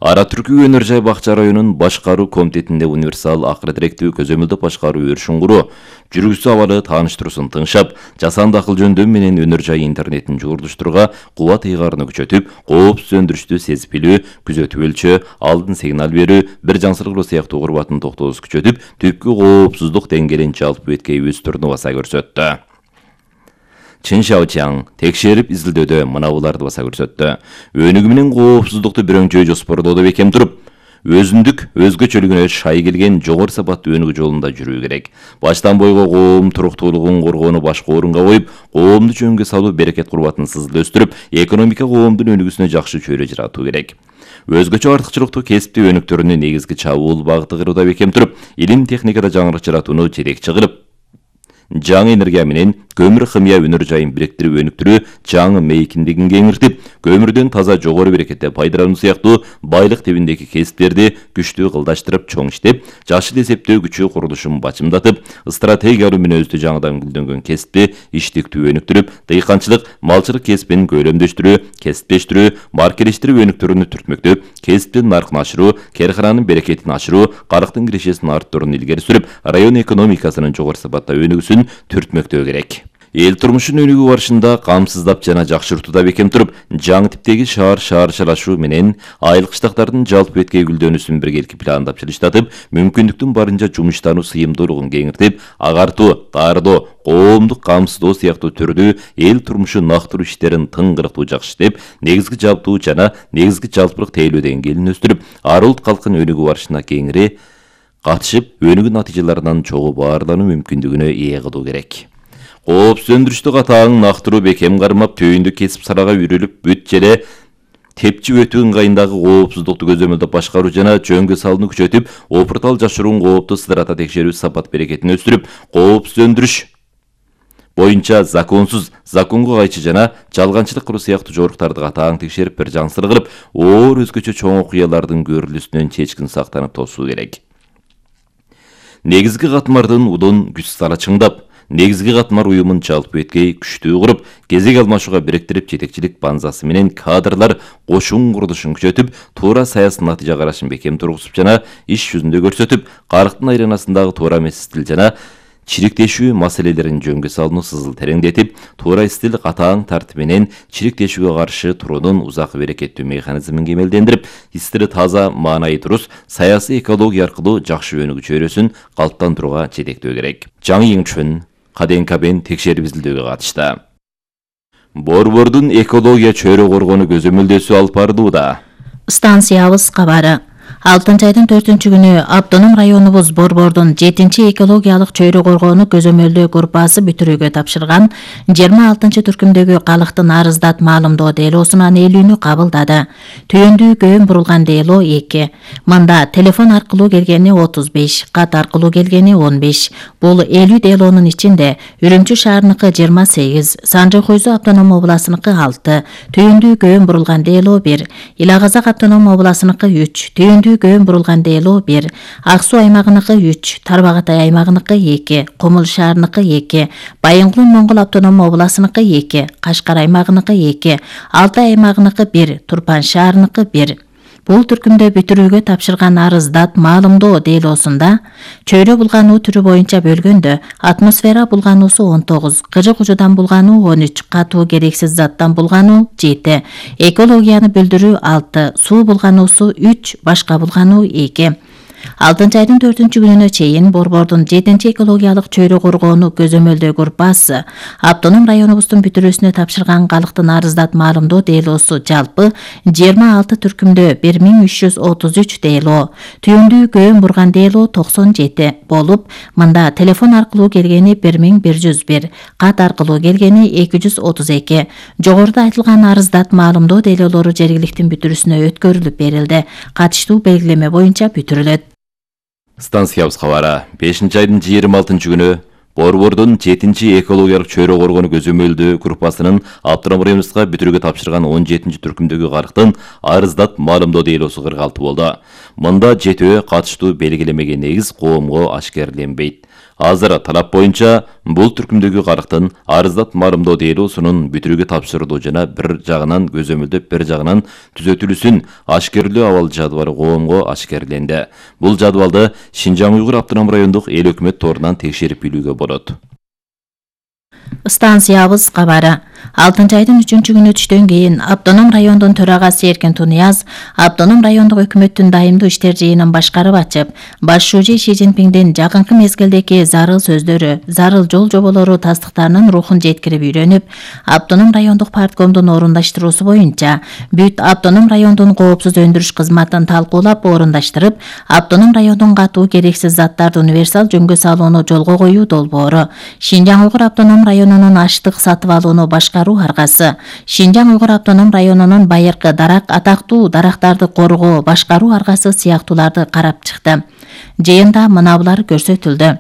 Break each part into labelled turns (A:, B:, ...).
A: Ара Түркү өнөр жай бакча районунун башкаруу комитетинде универсал акыры директүү көзөмөлдөө башкаруу өршүңгуру жүргүзүү абалы тааныштыруусун тыңшап, жасанды акыл жөндөм менен өнөр жай интернетин жуурдуштурууга кубат ыйгарууну күчөтүп, коопсуз өндүрүштү сезип билүү, күзөтүп өлчөө, алдын сигнал берүү, бир жансыргылоо сыяктуу курбатын токтоосу күчөтүп, түпкү коопсуздук деңгээлин жалпы беткей өстүрүүнү баса көрсөттү. Чин Шаочаң текшерип изилдөөдө мынабуларды баса көрсөттү. Өнүгүү менен коопсуздукту бирөңчөй жоспордоодо бекем туруп, өзүндүк өзгөчөлүгүнө шай келген жогору сапаттуу өнүгүү жолунда жүрүү керек. Баштан бойго коом туруктуулугун коргоону башкы орунга коюп, коомду жөнгө салуу берекет курбатын сызыл өстүрүп, экономика коомдун өнүгүүсүнө жакшы чөйрө жаратуу керек. Өзгөчө артыкчылыктуу кесиптүү өнүктөрүнүн негизги чабуул багыты кыруууда бекем туруп, илим техникада жаңырык жаратууну жетекчи кылып, жаңы энергия менен көмүр химия өнөр жайын бириктирип өнүктүрүү, жаңы мейкиндигин кеңиртип, көмүрдөн таза жогору берекетте пайдалануу сыяктуу байлык тебиндеги кесиптерди күчтүү кылдаштырып чоң иштеп, жашыл эсептөө күчү курулушун бачымдатып, стратегиялуу мүнөздүү жаңыдан гүлдөнгөн кесипти иштиктүү өнүктүрүп, дыйканчылык, малчылык кесипин көйлөмдөштүрүү, кесиптештирүү, маркелештирүү өнүктөрүнү түртмөктөп, кесиптин наркын ашыруу, керкананын берекетин ашыруу, карыктын кирешесин арттырууну илгери сүрүп, район экономикасынын жогору сапатта өнүгүүсүн түртмөктөө керек. Эл турмушун өнүгүү барышында камсыздап жана жакшыртууда бекем туруп, жаңы типтеги шаарчылашуу менен айыл кыштактардын жалпы беткей гүлдөнүүсүн биргеликти пландап жылыштатып, мүмкүндүктүн барынча жумуштануу сыйымдуулугун кеңиртип, агартуу, таардоо, коомдук камсыздоо сыяктуу түрдүү эл турмушу нактыруу иштерин тыңгырыктуу жакшы иштеп, негизги жалптуу жана негизги жалпылык тейлөө деңгээлин өстүрүп, ар улут калктын өнүгүү барышына кеңири катышып, өнүгүү натыйжаларынан чогуу баарлануу мүмкүндүгүнө ээ кылуу керек. Коопсуз өндүрүштү катаң нактыруу бекем кармап, түйүндү кесип сарага үрүлүп бүт желе тепчи өтүү ыңгайындагы коопсуздукту көзөмөлдөп башкаруу жана жөнгө салууну күчөтүп, опуртал жашыруун коопту сыдырата текшерүү сапат берекетин өстүрүп, коопсуз өндүрүш боюнча законсуз, законго кайчы жана жалганчылык кылуу сыяктуу жоруктарды катаң текшерип, бир жансыр кылып, оор өзгөчө чоң окуялардын көрүлүүсүнөн чечкин сактанып тосуу керек. Негизги катмардын удун күч сала чыңдап, негизги катмар уюмун жалпы беткей күчтүү куруп, кезек алмашууга бириктирип, жетекчилик банзасы менен кадрлар кошун курулушун күчөтүп, туура саясий натыйжа карашын бекем тургузуп жана иш жүзүндө көрсөтүп, карыктын айланасындагы туура эмес стил жана чириктешүү маселелерин жөнгө салууну сызыл тереңдетип, туура стил катаң тартип менен чириктешүүгө каршы туруунун узак берекеттүү механизмин кемелдендирип, стили таза, маанайы туруз, саясий экология аркылуу жакшы өнүгүү чөйрөсүн калыптандырууга жетектөө керек. Жаңы Йиңчүн КДНКбен текшерип изилдөөгө катышты. Борбордун экология чөйрө коргонуу көзөмөлдөөсү алып барылууда.
B: Станциябыз кабары. 6-айдын 4-күнү автоном районубуз Борбордун 7-экологиялык чөйрө коргоону көзөмөлдөө группасы бүтүрүүгө тапшырган 26-түркүмдөгү калктын арыздат маалымдоо делоосунун ээлүүнү кабылдады. Түйүндүү көөн бурулган дело 2. Мында телефон аркылуу келгени 35, кат аркылуу келгени 15. Бул 50 делонун ичинде Үрүмчү шаарыныкы 28, Санжы Хойзу автоном областыныкы 6, түйүндүү көөн бурулган дело 1, Ила Казак автоном областыныкы 3, түйүндүү көөн бурулган дело 1, Ак Суу аймагыныкы 3, Тарбагатай аймагыныкы 2, Кумул шаарыныкы 2, Байынгул Моңгол автоном областыныкы 2, Кашкар аймагыныкы 2, Алтай аймагыныкы 1, Турпан шаарыныкы 1. Бул түркүмдө бүтүрүүгө тапшырган арыздат маалымдоо делоосунда чөйрө булгануу түрү боюнча бөлгөндө атмосфера булгануусу 19, кыжык ужудан булгануу 13, катуу керексиз заттан булгануу 7, экологияны бүлдүрүү 6, суу булгануусу 3, башка булгануу 2. 6-айдын 4-күнүнө чейин Борбордун 7-экологиялык чөйрө коргоону көзөмөлдөө группасы автоном районубуздун бүтүрүүсүнө тапшырган калктын арыздат маалымдоо делоосу жалпы 26 түркүмдө 1333 дело, түйүндүү көөн бурган дело 97 болуп, мында телефон аркылуу келгени 1101, кат аркылуу келгени 232. Жогоруда айтылган арыздат маалымдоо делолору жергиликтин бүтүрүүсүнө өткөрүлүп берилди. Катыштуу белгилеме боюнча бүтүрүлөт.
A: Станциябыз кабары 5-айдын 26-күнү Борбордун 7-экологиялык чөйрө коргоону көзөмөлдөө группасынын автоном районубузга бүтүрүүгө тапшырган 17-түркүмдөгү калктын арыздат маалымдоо делоосу 46 болду. Мында жетөө катыштуу белгилемеге негиз коомго ашкерленбейт. Азыр талап боюнча бул түркүмдөгү карыктын арыздат марымдоо делосунун бүтүрүүгө тапшырылуу жана бир жагынан көзөмөлдөп, бир жагынан түзөтүлүүсүн ашкерлөө абал жадыбалы коомго ашкерленди. Бул жадыбалды Шинжаң Уйгур автоном райондук эл өкмөт торунан текшерип билүүгө болот.
B: Станциябыз кабары. 6-айдын 3-күнү түштөн кийин автоном райондун төрагасы Эркин Тунияз автоном райондук өкмөттүн дайымдуу иштер жыйынын башкарып ачып, баш шүүжи Ши Цзиньпиңдин жакынкы мезгилдеги зарыл сөздөрү, зарыл жол жоболору тастыктарынын рухун жеткирип үйрөнүп, автоном райондук парткомдун орундаштыруусу боюнча бүт автоном райондун коопсуз өндүрүш кызматын талкуулап орундаштырып, автоном райондун катуу керексиз заттарды универсал жөнгө салууну жолго коюу долбоору, Шинжаң Уйгур автоном районунун аштык сатып алууну башкаруу аргасы, Шинжаң Уйгур автоном районунун байыркы дарак атактуу дарактарды коргоо башкаруу аргасы сыяктууларды карап чыкты. Жыйында мына булар көрсөтүлдү.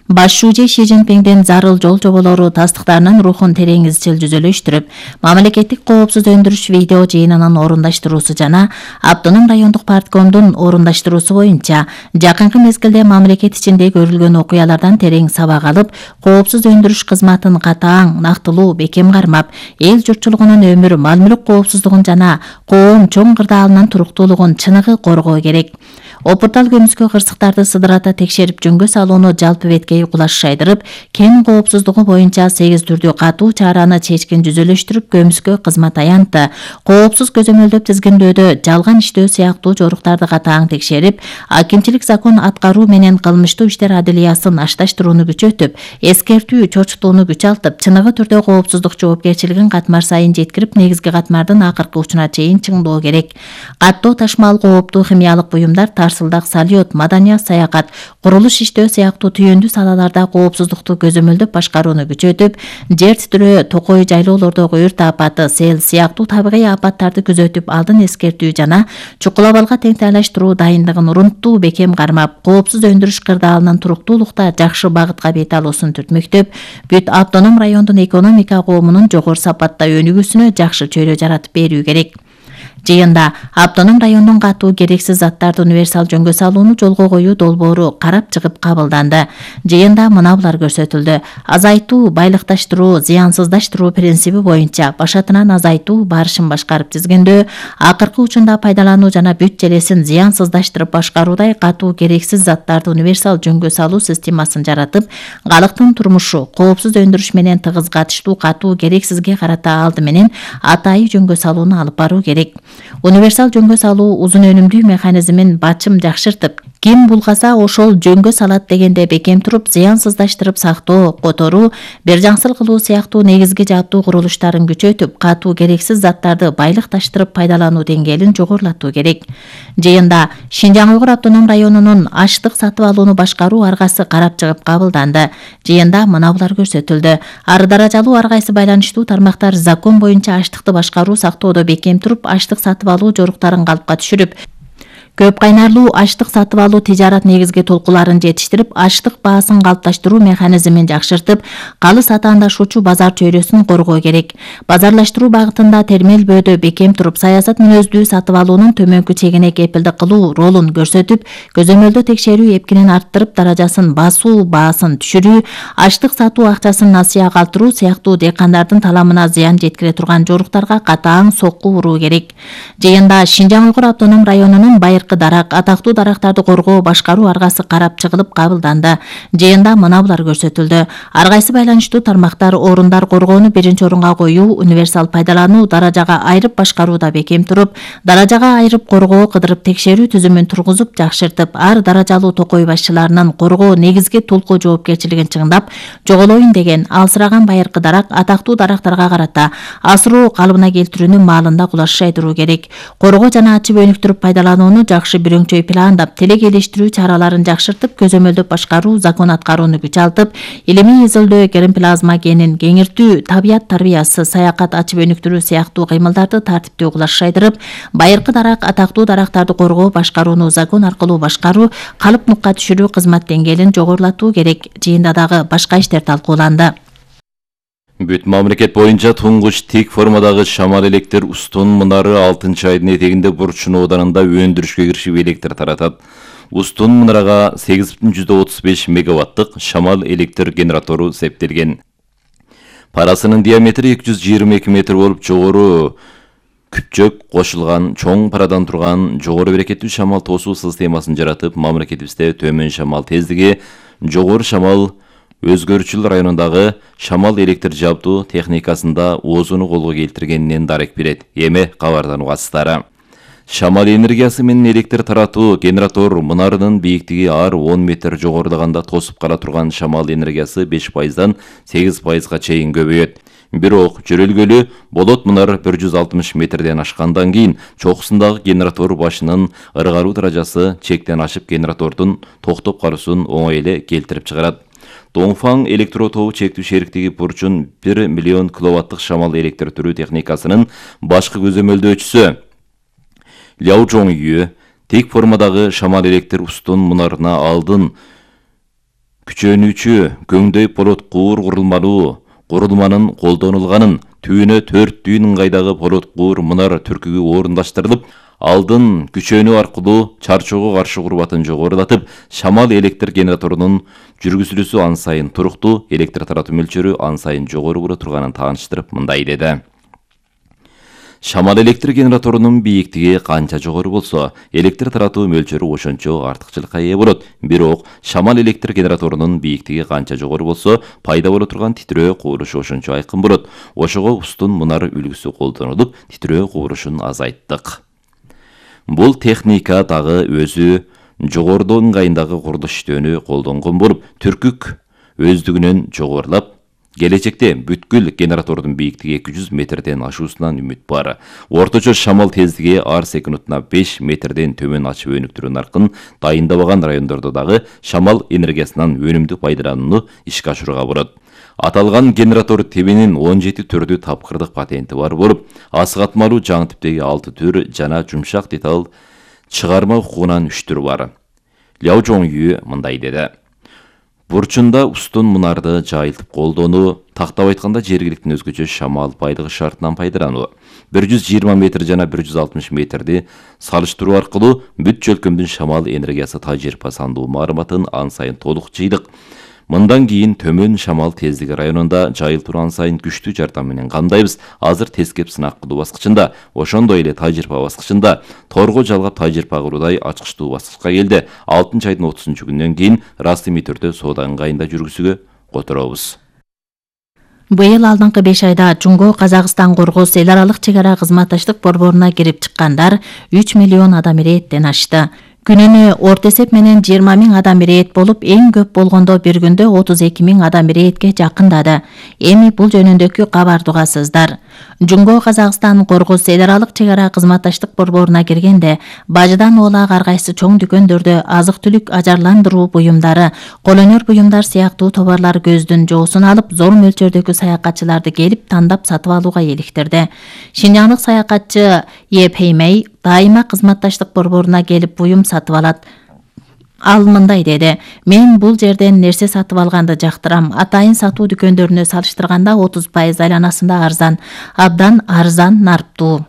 B: Баш шүүжи Ши Цзиньпиңдин зарыл жол жоболору тастыктарынын рухун терең изчил жүзөлөштүрүп, мамлекеттик коопсуз өндүрүш видео жыйынынын орундаштыруусу жана автоном райондук парткомдун орундаштыруусу боюнча жакынкы мезгилде мамлекет ичинде көрүлгөн окуялардан терең сабак алып, коопсуз өндүрүш кызматын катаң, нактылуу, бекем кармап, эл журтчулугунун өмүр, мал-мүлк коопсуздугун жана коом чоң кырдаалынын туруктуулугун чыныгы коргоо керек. Опуртал көмүскө кырсыктарды сыдырата текшерип жөнгө салууну жалпы беткей кулаш шайдырып, кен коопсуздугу боюнча 8 түрдүү катуу чараны чечкин жүзөлөштүрүп көмүскө кызмат аянтты. Коопсуз көзөмөлдөп тизгиндөөдө жалган иштөө сыяктуу жоруктарды катаң текшерип, акимчилик закон аткаруу менен кылмыштуу иштер адилиясын ашташтырууну күчөтүп, эскертүү, чочутууну күчалтып, чыныгы түрдө коопсуздук жоопкерчилигин катмар сайын жеткирип, негизги катмардын акыркы учуна чейин чыңдоо керек. Каттоо ташмал кооптуу химиялык буюмдар, тарсылдак, салют, маданият, саякат, курулуш иштөө сыяктуу түйөндүү салаларда коопсуздукту көзөмөлдөп башкарууну күчөтүп, жер титирөө, токой жайлоолордогу өрт апаты, сел сыяктуу табигый апаттарды күзөтүп, алдын эскертүү жана чукул абалга теңтайлаштыруу дайындыгын урунттуу бекем кармап, коопсуз өндүрүш кырдаалынын туруктуулукта жакшы багытка бет алуусун түртмөктөп, бүт автоном райондун экономика коомунун жогору сапатта өнүгүүсүнө жакшы чөйрө жаратып берүү керек. Жыйында автоном райондун катуу керексиз заттарды универсал жөнгө салууну жолго коюу долбоору карап чыгып кабылданды. Жыйында мына булар көрсөтүлдү. Азайтуу, байлыкташтыруу, зыянсыздаштыруу принциби боюнча башатынан азайтуу барышын башкарып тизгиндөө, акыркы учунда пайдалануу жана бүт желесин зыянсыздаштырып башкаруудай катуу керексиз заттарды универсал жөнгө салуу системасын жаратып, калктын турмушу, коопсуз өндүрүш менен тыгыз катыштуу катуу керексизге карата алды менен атайы жөнгө салууну алып баруу керек. Универсал жөнгө салуу узун өнүмдүү механизмин бачым жакшыртып, ким булгаса ошол жөнгө салат дегенде бекем туруп, зыянсыздаштырып сактоо, которуу, бир жаңсыл кылуу сыяктуу негизги жаптуу курулуштарын күчөтүп, катуу керексиз заттарды байлыкташтырып пайдалануу деңгээлин жогорулатуу керек. Жыйында Шинжаң Уйгур автоном районунун аштык сатып алууну башкаруу аргасы карап чыгып кабылданды. Жыйында мына булар көрсөтүлдү. Ар даражалуу ар кайсы байланыштуу тармактар закон боюнча аштыкты башкаруу сактоодо бекем туруп, аштык сатып алуу жоруктарын калпка түшүрүп, көп кайнарлуу аштык сатып алуу тижарат негизги толкуларын жетиштирип, аштык баасын калыпташтыруу механизмин жакшыртып, калыс атаандашуучу базар чөйрөсүн коргоо керек. Базарлаштыруу багытында термелбөөдө бекем туруп, саясат мүнөздүү сатып алуунун төмөнкү чегине кепилдик кылуу ролун көрсөтүп, көзөмөлдө текшерүү эпкинин арттырып, даражасын басуу, баасын түшүрүү, аштык сатуу акчасын насыя калтыруу сыяктуу дыйкандардын таламына зыян жеткире турган жоруктарга катаң сокку уруу керек. Жыйында Шинжаң Уйгур автоном районунун дарак, атактуу дарактарды коргоо башкаруу аргасы карап чыгылып кабылданды. Жыйында мына булар көрсөтүлдү. Ар кайсы байланыштуу тармактар орундар коргоону биринчи орунга коюу, универсал пайдалануу, даражага айрып башкарууда бекем туруп, даражага айрып коргоо, кыдырып текшерүү түзүмүн тургузуп, жакшыртып, ар даражалуу токой башчыларынын коргоо негизги толку жоопкерчилигин чыңдап, жоголоюн деген алсыраган байыркы дарак, атактуу дарактарга карата асыроо калыбына келтирүүнү маалында кулаш шайдыруу керек. Коргоо жана ачып өнүктүрүп пайдаланууну жакшы бирөңчөй пландап, телек элештирүү чараларын жакшыртып, көзөмөлдөп башкаруу, закон аткарууну күчалтып, илимий изилдөө, гермоплазма генин кеңиртүү, табият тарбиясы, саякат, ачып өнүктүрүү сыяктуу кыймылдарды тартиптүү кулаш шайдырып, байыркы дарак, атактуу дарактарды коргоо башкарууну закон аркылуу башкаруу, калып нукка түшүрүү кызмат деңгээлин жогорулатуу керек. Жыйында дагы башка иштер талкууланды.
A: Бүт мамлекет боюнча туңгуч тик формадагы шамал электр устун мунары 6-айдын этегинде Бурчун ооданында өндүрүшкө киришип электр таратат. Устун мынарага 8,35 мегаваттык шамал электр генератору септелген. Парасынын диаметри 222 метр болуп, жогору күпчөк кошулган чоң парадан турган жогору берекеттүү шамал тосуу системасын жаратып, мамлекетибизде төмөн шамал тездиги, жогору шамал өзгөрчүл районундагы шамал электр жабдуу техникасында оозуну колго келтиргенинен дарек берет. Эми кабардан угасыздар. Шамал энергиясы менен электр таратуу генератор мунарынын бийиктиги ар 10 метр жогорулаганда тосуп кала турган шамал энергиясы 5%дан 8%га чейин көбөйөт. Бирок жөрөлгөлү болот мунар 160 метрден ашкандан кийин чокусундагы генератор башынын ыргаруу даражасы чектен ашып генератордун токтоп калуусун оңой эле келтирип чыгарат. Доңфаң электро тобу чектүү шериктиги бурчун 1 миллион киловаттык шамал электр түрүү техникасынын башкы көзөмөлдөөчүсү Ляо Жоңюй тек формадагы шамал электр устун мунарына алдын күчөнүүчү көңдөй полот куур курулманын колдонулганын, түбүнө 4 дүйүн ыңгайдагы полот куур мунар түркүгү орундаштырылып, алдын күчөнүү аркылуу чарчоого каршы курбатын жогорулатып, шамал электр генераторунун жүргүзүлүүсү ан сайын туруктуу, электр таратуу мөлчөрү ан сайын жогору боло турганын тааныштырып, мындай деди. Шамал электр генераторунун бийиктиги канча жогору болсо, электр таратуу мөлчөрү ошончо артыкчылыкка ээ болот. Бирок шамал электр генераторунун бийиктиги канча жогору болсо, пайда боло турган титрөө кубурушу ошончо айкын болот. Ошого устун мунар үлгүсү колдонулуп, титрөө кубурушун азайттык. Бул техника дагы өзү жогорудо ыңгайындагы курулуш иштөөнү колдонгон болуп, түркүк өздүгүнөн жогорулап, келечекте бүткүл генератордун бийиктиги 200 метрден ашуусунан үмүт бар. Орточо шамал тездиги ар секундуна 5 метрден төмөн ачып өнүктүрүү наркын дайындабаган райондордо дагы шамал энергиясынан өнүмдүү пайдаланууну ишке ашырууга болот. Аталган генератор тибинин 17 түрдүү тапкырдык патенти бар болуп, асыгатмалуу жаңы типтеги 6 түр жана жумшак деталь чыгарма укугунан 3 түр бар. Ляо Жоңюй мындай деди. Бурчунда устун мунарды жайылтып колдонуу, тактап айтканда жергиликтин өзгөчө шамал байлыгы шартынан пайдалануу. 120 метр жана 160 метрди салыштыруу аркылуу бүт чөлкөмдүн шамал энергиясы тажрыйба сандуу маалыматын ан сайын толук жыйдык. Мындан кийин төмөн шамал тездиги районунда жайылтууну ан сайын күчтүү жардам менен камдайбыз. Азыр тескеп сынак кылуу баскычында, ошондой эле тажрыйба баскычында, торго жалгап тажрыйба кылуудай ачкычтуу баскычка келди. 6-айдын 30-күнүнөн кийин расмий түрдө соода ыңгайында жүргүзүүгө которобуз.
B: Быйыл алдыңкы 5 айда Жумго-Казакстан Кыргыз эл аралык чек ара кызматташтык борборуна кирип чыккандар 3 миллион адам ирээттен ашты. Күнүнө орто эсеп менен 20 000 адам ирээт болуп, эң көп болгондо бир күндө 32 000 адам ирээтке жакындады. Эми бул жөнүндөгү кабарды угасыздар. Жумго-Казакстан Кыргыз эл аралык чек ара кызматташтык борборуна киргенде, бажыдан оолак ар кайсы чоң дүкөндөрдө азык-түлүк ажарландыруу буюмдары, кол өнөр буюмдар сыяктуу товарлар көздүн жоосун алып, зор мөлчөрдөгү саякатчыларды келип тандап сатып алууга эликтирди. Шинжаңдык саякатчы Е Пеймей дайыма кызматташтык борборуна келип буюм сатып алат. Ал мындай деди: "Мен бул жерден нерсе сатып алганды жактырам. Атайын сатуу дүкөндөрүнө салыштырганда 30% айланасында арзан, абдан арзан, нарптуу."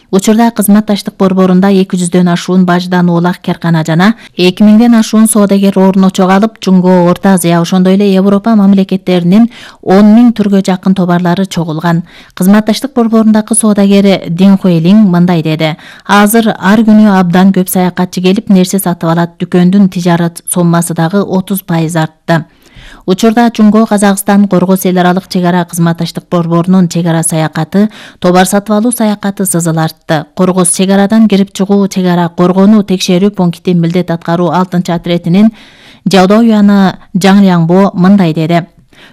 B: Учурда кызматташтык борборунда 200дөн ашуун бажыдан оолак каркана жана 2000ден ашуун соодагер орун очок алып, Жумго, Орто Азия, ошондой эле Европа мамлекеттеринин 10 000 түргө жакын товарлары чогулган. Кызматташтык борборундагы соодагер Дин Хуэлинг мындай деди: "Азыр ар күнү абдан көп саякатчы келип нерсе сатып алат. Дүкөндүн тижарат соммасы дагы 30% артты." Учурда Жумго-Казакстан Кыргыз эл аралык чек ара кызматташтык борборунун чек ара саякаты, товар сатып алуу саякаты сызыл артты. Кыргыз чек арадан кирип чыгуу чек ара коргонуу текшерүү пункти милдет аткаруу 6-отрядынын Жаудоюяны Жаң Ляңбо мындай деди: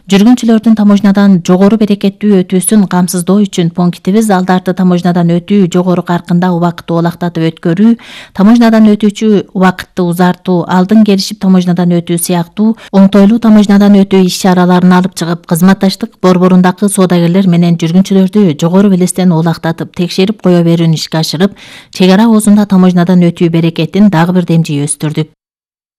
B: "Жүргүнчүлөрдүн таможнядан жогору берекеттүү өтүүсүн камсыздоо үчүн пунктибиз алдарты таможнядан өтүү, жогору каркында убакытты олактатып өткөрүү, таможнядан өтүүчү убакытты узартуу, алдын келишип таможнядан өтүү сыяктуу оңтойлуу таможнядан өтүү иш-чараларын алып чыгып, кызматташтык борборундагы соодагерлер менен жүргүнчүлөрдү жогору белестен олактатып, текшерип кое берүүнү ишке ашырып, чек ара оозунда таможнядан өтүү берекетин дагы бир демжи өстүрдүк."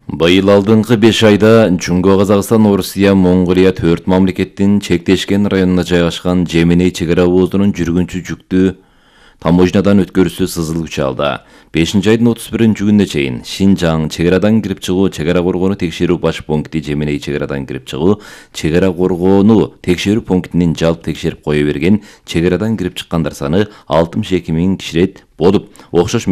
A: Быйыл алдыңкы 5 айда Жумго-Казакстан, Орусия, Монголия 4 мамлекеттин чектешкен районуна жайгашкан Жеменей чек ара оозунун жүргүнчү жүктү таможнядан өткөрүүсү сызыл күч алды. 5-айдын 31-күнүнө чейин Шинжаң чек арадан кирип чыгуу, чек ара коргоону текшерүү баш пункти Жеменей чек арадан кирип чыгуу, чек ара коргоону текшерүү пунктинин жалпы текшерип кое берген чек арадан кирип чыккандар саны 62 000 киширет болуп, окшош